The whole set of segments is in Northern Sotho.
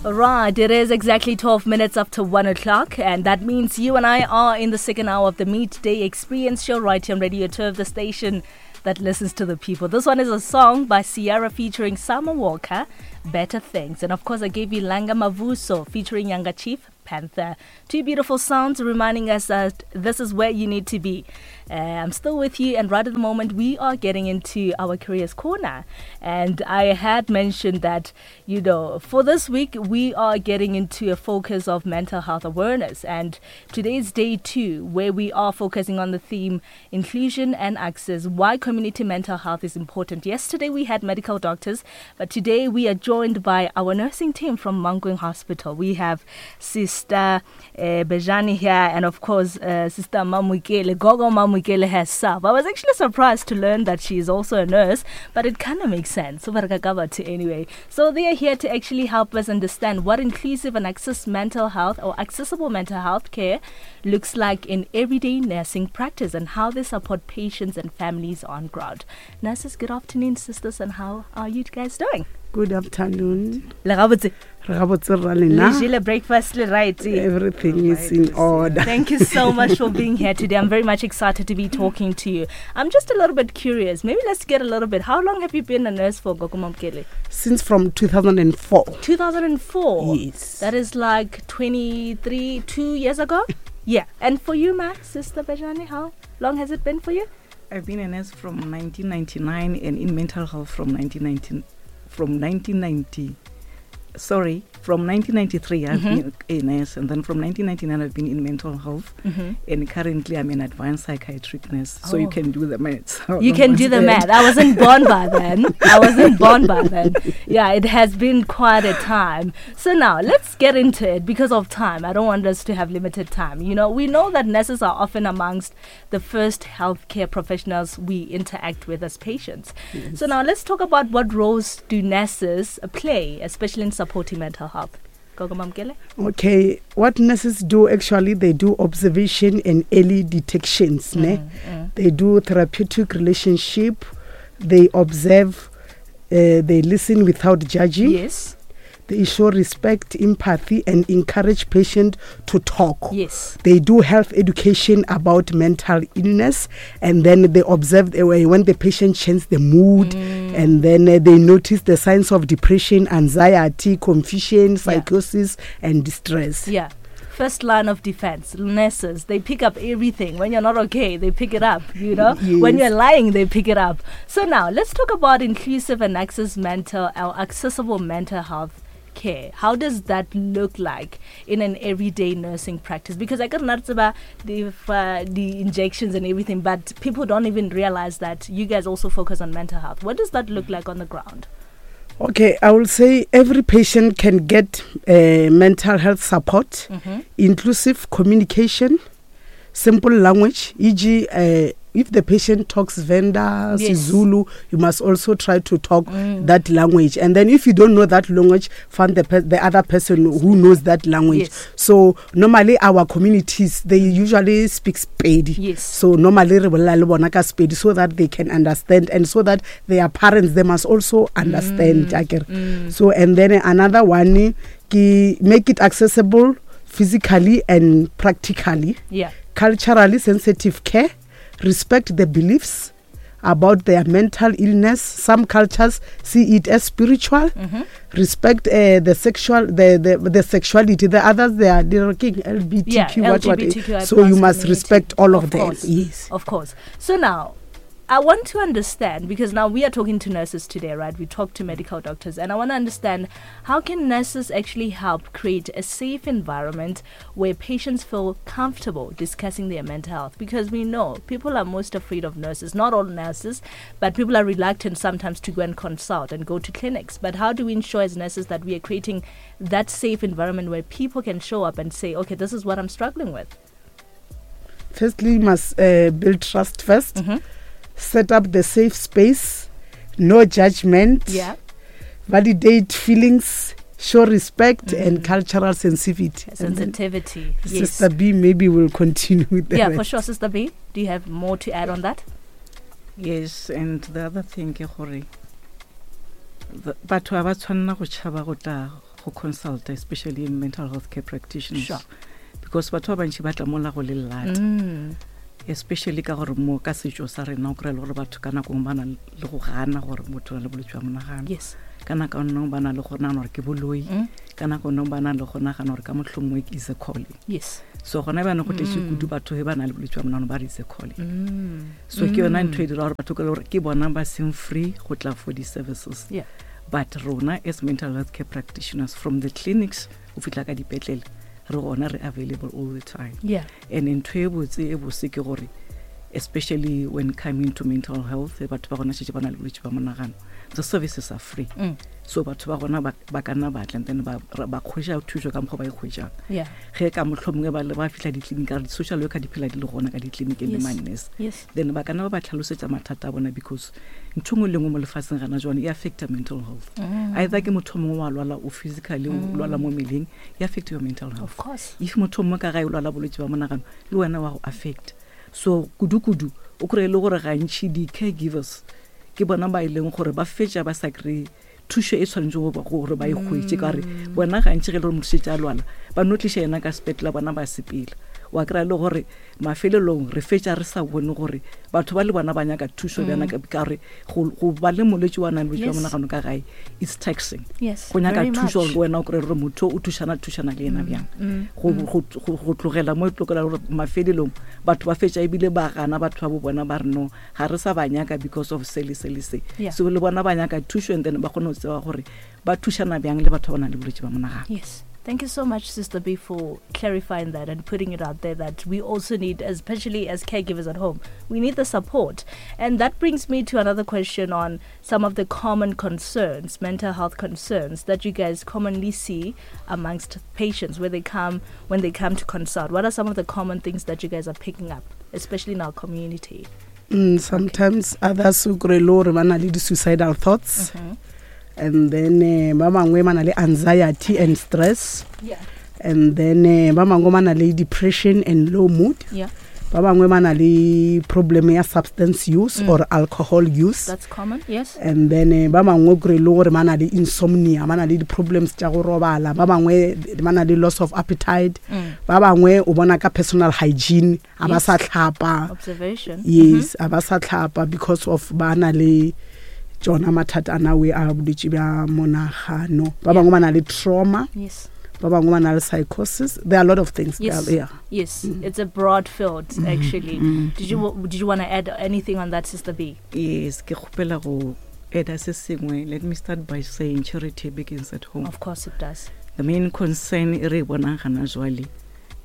Right, it is exactly 12 minutes after 1 o'clock, and that means you and I are in the second hour of the Midday Experience Show right here on Radio 2 of the station that listens to the people. This one is a song by Ciara featuring Summer Walker, Better Things. And of course, I gave you Langa Mavuso featuring Yanga Chief, Panther. Two beautiful sounds reminding us that this is where you need to be. I'm still with you, and right at the moment, we are getting into our Careers Corner. And I had mentioned that, you know, for this week, we are getting into a focus of mental health awareness. And today is day 2, where we are focusing on the theme inclusion and access, why community mental health is important. Yesterday, we had medical doctors, but today we are joined by our nursing team from Mankweng Hospital. We have Sister Bejani here, and of course, Sister Mamukele, Gogo Mamukele herself. I was actually surprised to learn that she is also a nurse, but it kind of makes sense. Anyway, so they are here to actually help us understand what inclusive and access mental health or accessible mental health care looks like in everyday nursing practice and how they support patients and families on ground. Nurses, good afternoon, sisters, and how are you guys doing? Good afternoon. Le gabotse? Re gabotse rra lena. Le jele breakfast le right? Everything is in order. Thank you so much for being here today. I'm very much excited to be talking to you. I'm just a little bit curious. Maybe let's get a little bit. How long have you been a nurse for, Gogo Mamkele? Since from 2004. 2004? Yes. That is like 23, 2 years ago? Yeah. And for you, ma, Sister Bejani, how long has it been for you? I've been a nurse from 1999 and in mental health from nineteen from 1990. Sorry, from 1993 I've been a nurse, and then from 1999 I've been in mental health, and currently I'm an advanced psychiatric nurse. So you can do the maths. How You long can was do the that? math. I wasn't born by then. I wasn't born by then. Yeah, it has been quite a time. So now let's get into it because of time. I don't want us to have limited time. We know that nurses are often amongst the first healthcare professionals we interact with as patients. Yes. So now let's talk about what roles do nurses play, especially in supporting mental health. Gogo Mamkele? Okay, what nurses do actually, they do observation and early detections. Ne? They do therapeutic relationship, they observe, they listen without judging. They show respect, empathy, and encourage patient to talk. They do health education about mental illness, and then they observe the way when the patient changes the mood, and then they notice the signs of depression, anxiety, confusion, psychosis, and distress. First line of defense, nurses, they pick up everything. When you're not okay, they pick it up, you know? When you're lying, they pick it up. So now, let's talk about inclusive and access mental, or accessible mental health care. How does that look like in an everyday nursing practice? Because I got not about the injections and everything, but people don't even realize that you guys also focus on mental health. What does that look like on the ground? Okay, I will say every patient can get mental health support, inclusive communication, simple language, for example, if the patient talks Venda, Zulu, you must also try to talk that language. And then if you don't know that language, find the other person who knows that language. So normally our communities, they usually speak Sepedi. So normally re bolela le bona ka Sepedi so that they can understand, and so that their parents, they must also understand. Akere. And then another one, ki make it accessible physically and practically. Culturally sensitive care. Respect the beliefs about their mental illness. Some cultures see it as spiritual. Respect the sexuality. The others, they are king LGBTQ. Yeah, what, L G B T Q I So you plus must community. respect all of Of them. course. Yes. Of course. So now, I want to understand, because now we are talking to nurses today, right? We talk to medical doctors, and I want to understand, how can nurses actually help create a safe environment where patients feel comfortable discussing their mental health? Because we know people are most afraid of nurses. Not all nurses, but people are reluctant sometimes to go and consult and go to clinics. But how do we ensure as nurses that we are creating that safe environment where people can show up and say, okay, this is what I'm struggling with? Firstly, you must build trust first. Set up the safe space, no judgment, validate feelings, show respect, and cultural sensitivity. And then Sensitivity, yes. Sister B maybe will continue with the Yeah, for rest. sure. Sister B, do you have more to add on that? Yes, and the other thing ke gore batho ha ba tshwanela go tšhaba go tla go consulta, especially mental health care practitioners. Because batho ba bantši ba tla mola go le lata. Especially ka gore mo ka setšo sa rena o kry-e le gore batho ka nako nngwe ba na le go gana gore motho o na le bolwetse bja monagano. Ka nako nngwe ba na le go nagana gore ke boloi. Ka nako nngwe ba na le go nagana gore ka mohlomongwe is a calling. So gona bjane go tletše kudu batho ge ba na le bolwetse bja monagano ba re is a calling. So ke yona ntho e dira gore batho ka le gore ke bona ba seng free go tla for di-services. But rona as mental health care practitioners from the clinics go fihla ka dipetlele re gona re available all the time. And ntho e botse e bose ke gore especially when coming to mental health, batho ba gona šetše ba na le bolwetse ba monagano, the services are free. So batho ba gona ba ka nna ba tla, and then ba kgwetša thušo ka mokgwa ba e kgwetšang. Ge ka mohlomongwe ba le ba fihla ditleliniki, ka re di-social worker di phela di le gona ka ditleliniking le ma-nurse. Then ba ka nna ba ba tlhalosetša mathata a bona, because ntho nngwe le nngwe mo lefatsheng gana jwane e affecta mental health. Either ke motho mongwe wa lwala o physically, o lwala mo mmeleng, e affect your mental health. Of course. If motho mongwe ka gae o lwala bolwetse ba monagano, le wena wa go affect. So kudu-kudu o kry-e le gore gantši di-caregivers ke bona ba e leng gore ba fetša ba sa kry-e thušo e tshwanetse gore ba e hwetše, ka gore bona gantši ge e le gore motho šetše a lwala ba no tliša yena ka sepetlele, bona ba sepela. Wa kry-a le gore mafelelong re fetša re sa bone gore batho ba le bona ba nyaka thušo bjana, ka gore go ba le molwetši wa nang le bolwetši bja monagano ka gae it's taxing. Go nyaka thušo gore wena o kry-e gore motho o thušana le yena bjang. Go tlogela mo e tlogela gore mafelelong batho ba fetša ebile ba gana batho ba bo bona ba re no ga re sa ba nyaka because of se le se le se. So le bona ba nyaka thušo, and then ba kgone go tseba gore ba thušana bjang le batho ba ba nang le bolwetši ba monagano. Yes. Thank you so much, Sister B, for clarifying that and putting it out there that we also need, especially as caregivers at home, we need the support. And that brings me to another question on some of the common concerns, mental health concerns that you guys commonly see amongst patients when they come to consult. What are some of the common things that you guys are picking up, especially in our community? Sometimes others who kry le gore ba na le di-suicidal thoughts. And then ba bangwe ba na le anxiety and stress. And then ba bangwe ba na le depression and low mood. Ba bangwe ba na le problem ya substance use or alcohol use. That's common, yes. And then ba bangwe kry le gore ba na le insomnia, ba na le di-problems tša go robala. Ba bangwe ba na le loss of appetite. Ba bangwe o bona ka personal hygiene, a ba sa tlhapa. Observation. Yes, a ba sa tlhapa because of ba na le tšona mathata a nawe a bolwetši bja monagano. Ba bangwe ba na le trauma. Ba bangwe ba na le psychosis. There are a lot of things. There, yeah. Yes. It's a broad field, actually. Did you want to add anything on that, Sister B? Yes, ke kgopela go add se sengwe. Let me start by saying charity begins at home. Of course it does. The main concern e re e bonang gana jwale,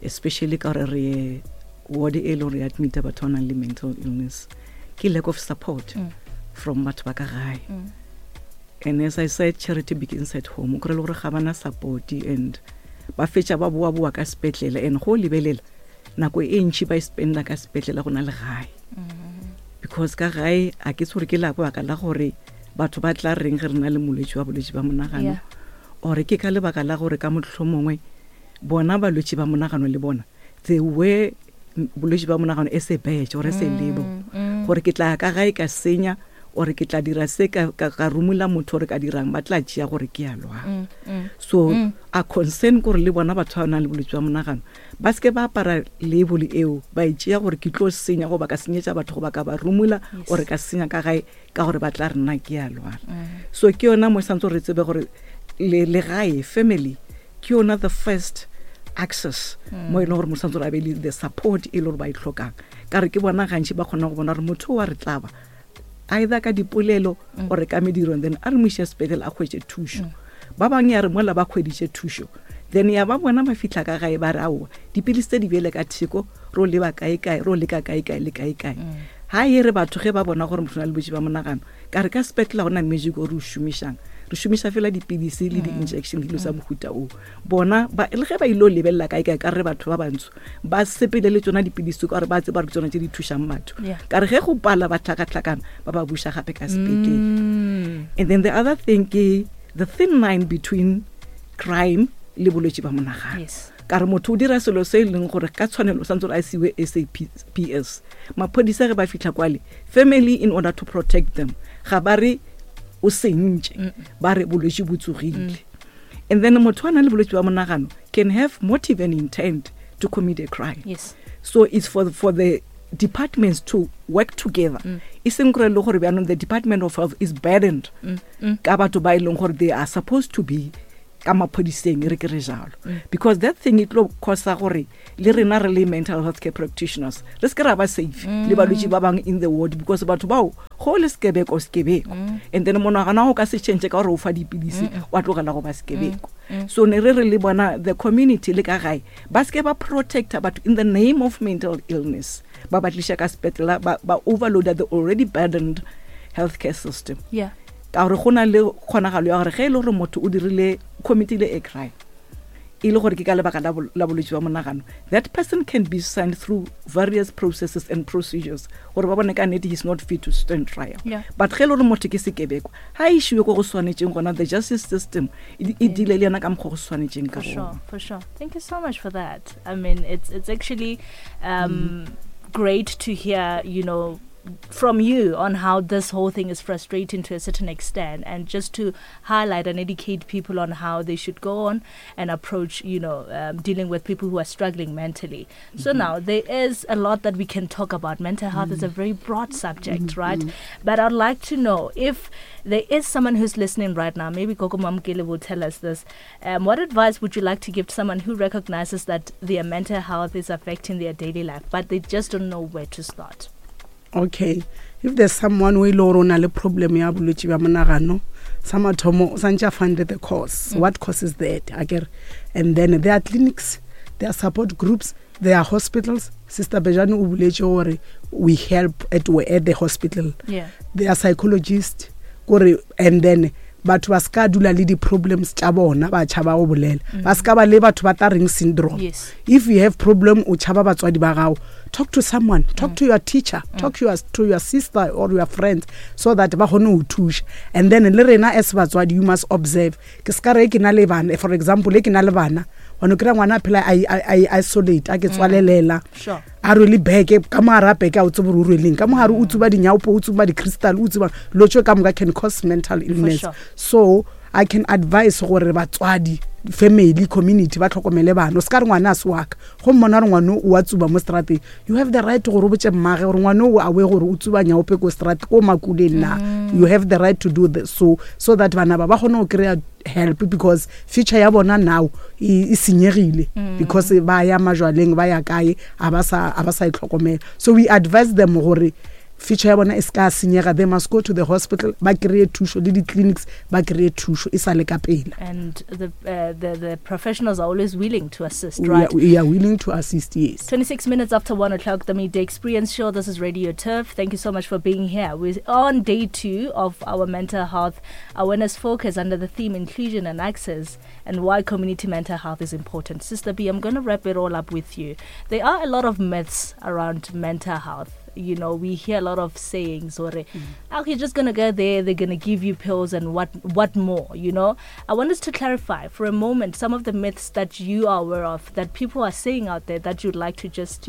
especially ka gore re ward e leng re admit batho ba nang le mental illness, ke lack of support from batho ba ka gae. And as I said, charity begins at home. O kry-e le gore ga bana support and ba fetša ba boa-boa ka sepetlele, and go lebelela nako e ntši ba e spenda ka sepetlele go na le gae. Because ka gae a ke tshwere ke lebaka la gore batho ba tla reng ge re na le molwetši wa bolwetši ba monagano, or ke ka lebaka la gore ka mohlomongwe bona balwetši ba monagano le bona they were bolwetši ba monagano e se badge or e se label, gore ke tla ka gae ka senya or ke tla dira se ka rumula motho gore ka dirang, ba tla tšea gore ke a lwala. So a concern gore le bona batho ba nang le bolwetši ba monagano ba seke ba apara label eo, ba e tšea gore ke tlo senya goba ka senyetša batho goba ka ba rumula or ka senya ka gae ka gore ba tla re nna ke a lwala. So ke yona mo santse re tsebe gore le gae family ke yona the first access mo e leng gore motho santse a be le the support e le gore ba e tlhokang, ka re ke bona gantši ba kgona go bona gore motho wa re tlaba either ka dipolelo or ka mediro, and then a re mo iše sepetlele a hwetše thušo. Ba bangwe ya re mola ba hweditše thušo, then ya ba bona ba fihla ka gae ba re aowa dipilisi tse di bjele ka theko, ro leba kae kae, ro leka kae kae le kae kae. Ha e re batho ge ba bona gore motho o na le bolwetši ba monagano, ka re ka sepetlele ga gona magic o re o šomišang, re šomiša fela dipilisi le di-injection le dilo tsa mohuta oo. Bona ba, le ge ba ile go lebelela kae kae, ka re batho ba bantsho ba sepele le tsona dipilisi ka gore ba tseba gore ke tsona tse di thušang batho. Ka re ge go pala ba tlhakatlhakana ba ba buša gape ka sepetlele. And then the other thing ke the thin line between crime le bolwetši ba monagano. Ka re motho o dira selo se e leng gore ka tshwanelo o santse gore a siwe SAPS. Maphodisa ge ba fihla kwale, family in order to protect them ga ba re o sentše, ba re bolwetši bo tsogile. And then motho a nang le bolwetse bja monagano can have motive and intent to commit a crime. Yes. So it's for the departments to work together. E seng gore le gore bjaanong the Department of Health is burdened ka batho ba e leng gore they are supposed to be ka maphodiseng, e re ke re jalo. Because that thing e tlo causa gore le rena re le mental health care practitioners re se ke ra ba safe le balwetši ba bangwe in the ward, because batho bao go le sekebeko sekebeko, and then monagano wa go ka se change ka gore o fa dipilisi wa tlogela go ba sekebeko. So ne re re le bona the community le ka gae ba se ke ba protecta batho in the name of mental illness, ba ba tliša ka sepetlela, ba overloada the already burdened healthcare system. Ka gore go na le kgonagalo ya gore ge e le gore motho o dirile committile a crime e le gore ke ka lebaka la bolwetse bja monagano, that person can be sent through various processes and procedures gore ba bone ka nnete he's not fit to stand trial. But ge e le gore motho ke sekebekwa, ga e išiwe ko go swanetšeng gona, the justice system e deale le yena ka mokgwa go swanetšeng ka For gona. sure, for sure. Thank you so much for that. It's actually great to hear from you on how this whole thing is frustrating to a certain extent, and just to highlight and educate people on how they should go on and approach dealing with people who are struggling mentally. So now there is a lot that we can talk about. Mental health is a very broad subject, right? But I'd like to know if there is someone who's listening right now, maybe Gogo Mamokele will tell us this. What advice would you like to give to someone who recognizes that their mental health is affecting their daily life, but they just don't know where to start? Okay, if there's someone who ile gore o na le problem ya bolwetse bja monagano, sa mathomo o santse a find the cause. What causes that? Akere. And then there are clinics, there are support groups, there are hospitals. Sister Bejane o boletse gore we help at the hospital. There are psychologists. Kore, and then batho ba ska dula le di-problems tša bona, ba tšhaba go bolela. Ba ska ba le batho ba tla reng syndrome. If you have problem, o tšhaba batswadi ba gago, talk to someone, talk to your teacher, talk to your sister or your friends, so that ba kgone ho thuša. And then le rena as batswadi, you must observe. Ke ska re ke na le bana, for example, ke na le bana, wa no kry-a ngwana a phela a isolate, a ke tswalelela. A rwele beke, ka mo hara beke a o tsebe gore o rweleng, ka mo hare o tsuba dinyaopo, o tsuba di-crystal, o tsuba dilo tše ka moka can cause mental For illness. sure. So I can advise gore batswadi, family, community ba tlhokomele bana. O se ka re ngwana a se wa ka, go mmona gore ngwana o a tsuba mo strateng, you have the right gore o botse mmage gore ngwana o a we gore o tsuba nyaope ko strat, ko makuleng na. You have the right to do this, so that bana ba ba kgone go kry-a help, because future ya bona now e senyegile, because ba ya majwaleng, ba ya kae, a ba sa itlhokomela. So we advise them gore future ya bona e ska senyega, they must go to the hospital, ba kry-e thušo, le di-clinics ba kry-e thušo e sa le ka pela. And the professionals are always willing to assist, We right? are willing to assist, yes. 26 minutes after 1 o'clock, the Midday Experience Show. This is Radio Turf. Thank you so much for being here. We're on day 2 of our mental health awareness focus under the theme inclusion and access and why community mental health is important. Sister B, I'm going to wrap it all up with you. There are a lot of myths around mental health. We hear a lot of sayings or, oh, you're just going to go there, they're going to give you pills and what more, you know? I want us to clarify for a moment some of the myths that you are aware of, that people are saying out there that you'd like to just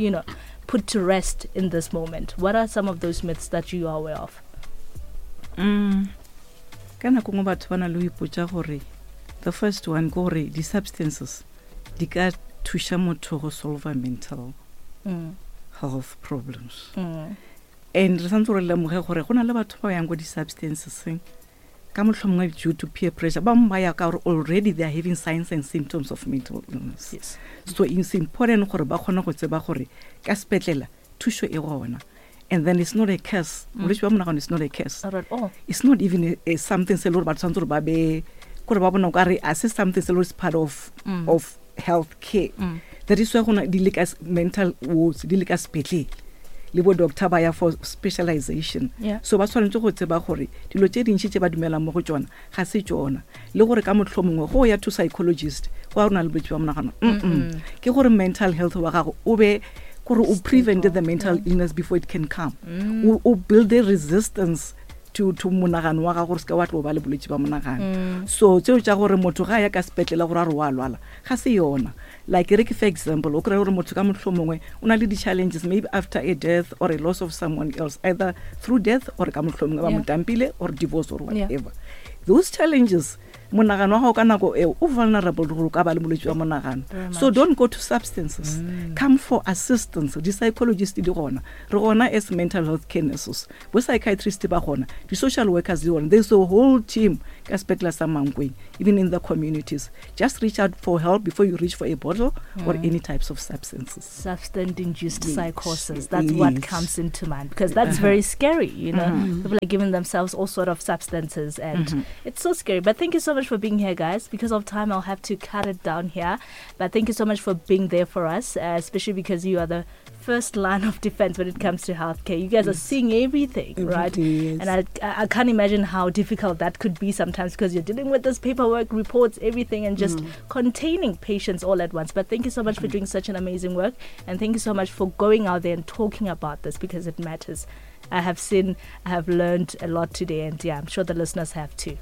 put to rest in this moment. What are some of those myths that you are aware of? Ka nako nngwe batho ba na le ho ipotsa gore the first one ke gore di-substances di ka thuša motho go solve mental health problems. And re santse re lemoge gore go na le batho ba yang ko di-substanceseng ka mohlomongwe due to peer pressure, ba bangwe ba ya ka gore already they are having signs and symptoms of mental illness. So it's important gore ba kgone go tseba gore ka sepetlela thušo e gona. And then it's not a curse. Bolwetse bja monagano is not a curse. Not at all. It's not even a something se le gore batho tshwanetse gore ba be, gore ba bona okare a se something se le gore is part of health care. That is why go na di le ka mental wards, di le ka sepetlele. Le bo doctor ba ya for specialization. So ba tshwanetse go tseba gore dilo tse dintsi tse ba dumelang mo go tsona ga se tsona. Le gore ka mohlomongwe go ya to psychologist, go a rona le bolwetse ba monagano. Ke gore mental health wa gago o be gore o prevent the mental illness before it can come. O build a resistance to monagano wa gago gore se ka wa tlo ba le bolwetse ba monagano. So tseo tša gore motho ga a ya ka sepetlele gore a re wa lwala, ga se yona. Like re ke for example, o kry-e gore motho ka mohlomongwe o na le di-challenges maybe after a death or a loss of someone else, either through death or ka mohlomongwe ba mo dumpile or divorce or whatever. Those challenges Monagano wa gago ka nako eo o vulnerable gore o ka ba le molwetši wa monagano. So don't go to substances. Come for assistance. Di-psychologist di gona. Re gona as mental health care nurses. Bo psychiatrist ba gona. Di-social workers di gona. There's a whole team ka sepetlele sa Mankweng, even in the communities. Just reach out for help before you reach for a bottle or any types of substances. Substance-induced psychosis. That's what comes into mind, because that's very scary, you know. People are giving themselves all sort of substances and it's so scary. But thank you so much for being here, guys. Because of time, I'll have to cut it down here. But thank you so much for being there for us, especially because you are the first line of defense when it comes to healthcare. You guys are seeing everything, right? Everything, yes. And I can't imagine how difficult that could be sometimes, because you're dealing with this paperwork, reports, everything, and just containing patients all at once. But thank you so much for doing such an amazing work, and thank you so much for going out there and talking about this, because it matters. I have learned a lot today, and I'm sure the listeners have too.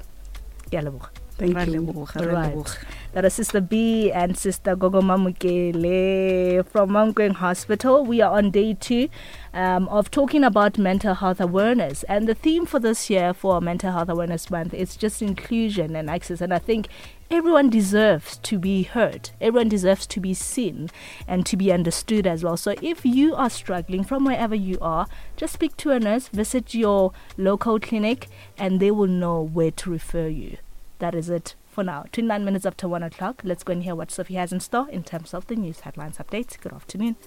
Ke a leboga. Thank Ra you. leboga, ra Right. leboga. That is Sister B and Sister Gogo Mamukele from Mankweng Hospital. We are on day 2 of talking about mental health awareness. And the theme for this year for Mental Health Awareness Month is just inclusion and access. And I think everyone deserves to be heard. Everyone deserves to be seen and to be understood as well. So if you are struggling from wherever you are, just speak to a nurse, visit your local clinic, and they will know where to refer you. That is it for now. 29 minutes after 1 o'clock. Let's go and hear what Sophie has in store in terms of the news headlines updates. Good afternoon.